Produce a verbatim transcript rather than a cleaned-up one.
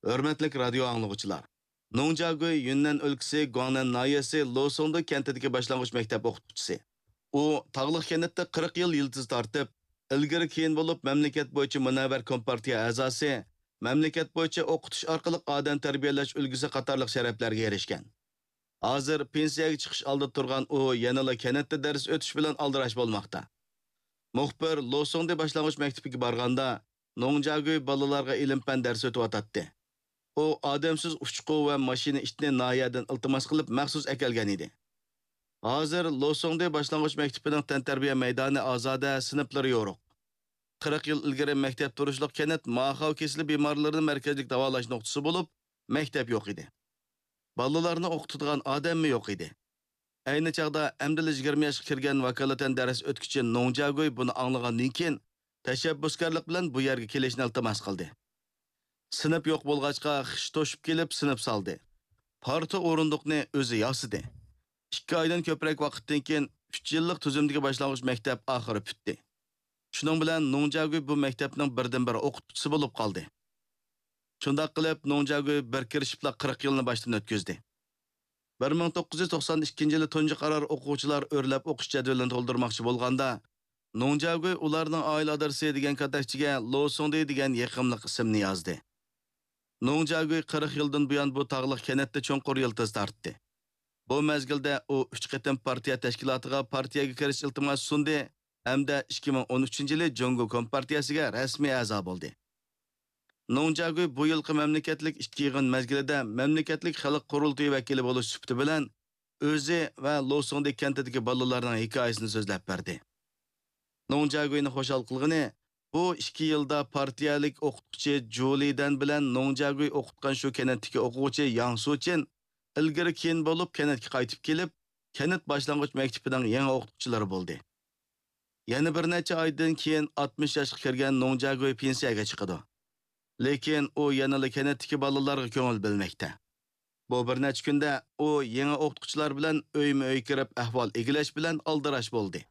ھۆرمەتلىك رادىيو ئاڭلىغۇچىلار! نوڭ جياگۈي يۈننەن ئۆلكىسى گۇاڭنەن ناھىيەسى لوسۇڭدۇ كەنتىدىكى باشلانغۇچ مەكتەپ ئوقۇتقۇچىسى. ئۇ تاغلىق كەنتتە قىرىق يىل يىلتىز تارتىپ، ئىلگىرى كېيىن بولۇپ مەملىكەت بويىچە مۇنەۋۋەر كومپارتىيە ئەزاسى، مەملىكەت بويىچە ئوقۇتۇش ئارقىلىق ئادەم تەربىيەلەش ئۈلگىسى قاتارلىق شەرەپلەرگە ئېرىشكەن. ھازىر پېنسىيەگە چىقىش ئالدىدا تۇرغان ئۇ يەنىلا كەنتتە دەرس ئۆتۈش بىلەن ئالدىراش بولماقتا. مۇخبىر لوسۇڭدى باشلانغۇچ مەكتىپىگە بارغاندا، نوڭ جياگۈي بالىلارغا ئىلىم-پەن دەرس ئۆتۈۋاتاتتى. ئۇ ئادەمسىز ئۇچقۇ ۋە ماشىنا ئىتنى ناھىيەدىن ئىلتىماس قىلىپ مەخسۇس ئەكەلگەن ئىدى. ھازىر لوسۇڭدى باشلانغۇچ مەكتىپىنىڭ تەنتەربىيە مەيدانى ئازادە، سىنىپلىرى يورۇق. قىرىق يىل ئىلگىرى مەكتەپ تۇرۇشلۇق كەنت ماخاۋ كېسىلى بىمارلىرىنى مەركەزلىك داۋالاش نۇقتىسى بولۇپ، مەكتەپ يوق ئىدى. بالىلارنى ئوقۇتىدىغان ئادەممۇ يوق ئىدى. ئەينى چاغدا ئەمدىلا يىگىرمە ياشقا كىرگەن ۋاكالىتەن دەرس ئۆتكۈچى نوڭ جياگۈي بۇنى ئاڭلىغاندىن كېيىن، تەشەببۇسكارلىق بىلەن بۇ يەرگە كېلىشنى ئىلتىماس قىلدى. سىنىپ يوق بولغاچقا، خىش توشۇپ كېلىپ سىنىپ سالدى. پارتا ئورۇندۇقنى ئۆزى ياسىدى. ئىككى ئايدىن كۆپرەك ۋاقىتتىن كېيىن، ئۈچ يىللىق تۈزۈمدىكى باشلانغۇچ مەكتەپ ئاخىرى پۈتتى. شۇنىڭ بىلەن نوڭ جياگۈي بۇ مەكتەپنىڭ بىردىنبىر ئوقۇتقۇچىسى بولۇپ قالدى. شۇنداق قىلىپ، نوڭ جياگۈي بىر كىرىشىپلا قىرىق يىلنى باشتىن ئۆتكۈزدى. بىر مىڭ توققۇز يۈز توقسان ئىككىنچى يىلى تۇنجى قارار ئوقۇغۇچىلار ئۆرلەپ ئوقۇش جەدۋىلىنى تولدۇرماقچى بولغاندا، نوڭ جياگۈي ئۇلارنىڭ ئائىلە ئادرېسى دېگەن كاتەكچىگە لوسۇڭدى دېگەن يېقىملىق ئىسىمنى يازدى. نوڭ جياگۈي قىرىق يىلدىن بۇيان بۇ تاغلىق كەنتتە چوڭقۇر يىلتىز تارتتى. بۇ مەزگىلدە ئۇ ئۈچ قېتىم پارتىيە تەشكىلاتىغا پارتىيەگە كىرىش ئىلتىماسى سۇندى ھەمدە ئىككى مىڭ ئون ئۈچىنچى يىلى جۇڭگو كومپارتىيەسىگە رەسمىي ئەزا بولدى. نوڭ جياگۈي بۇ يىلقى مەملىكەتلىك ئىچكى يىغىن مەزگىلىدە مەملىكەتلىك خەلق قۇرۇلتىيى ۋەكىلى بولۇش سۈپىتى بىلەن ئۆزى ۋە لوسۇڭدى كەنتىدىكى بالىلارنىڭ ھېكايىسىنى سۆزلەپ بەردى. نوڭ جياگۈينى خۇشال قىلغىنى، بۇ ئىككى يىلدا پارتىيەلىك ئوقۇتقۇچى جۇ لىدەن بىلەن نوڭ جياگۈي ئوقۇتقان شۇ كەنتتىكى ئوقۇغۇچى ياڭ سۇچىن ئىلگىرى كېيىن بولۇپ كەنتكە قايتىپ كېلىپ، كەنت باشلانغۇچ مەكتىپىنىڭ يېڭى ئوقۇتقۇچىلىرى بولدى. يەنە بىر نەچچە ئايدىن كېيىن ئاتمىش ياشقا كىرگەن نوڭ جياگۈي پېنسىيەگە چىقىدۇ. لېكىن ئۇ يەنىلا كەنتتىكى بالىلارغا كۆڭۈل بۆلمەكتە. بۇ بىر نەچچە كۈندە ئۇ يېڭى ئوقۇتقۇچىلار بىلەن ئۆيمۇ ئۆي كىرىپ ئەھۋال ئىگىلەش بىلەن ئالدىراش بولدى.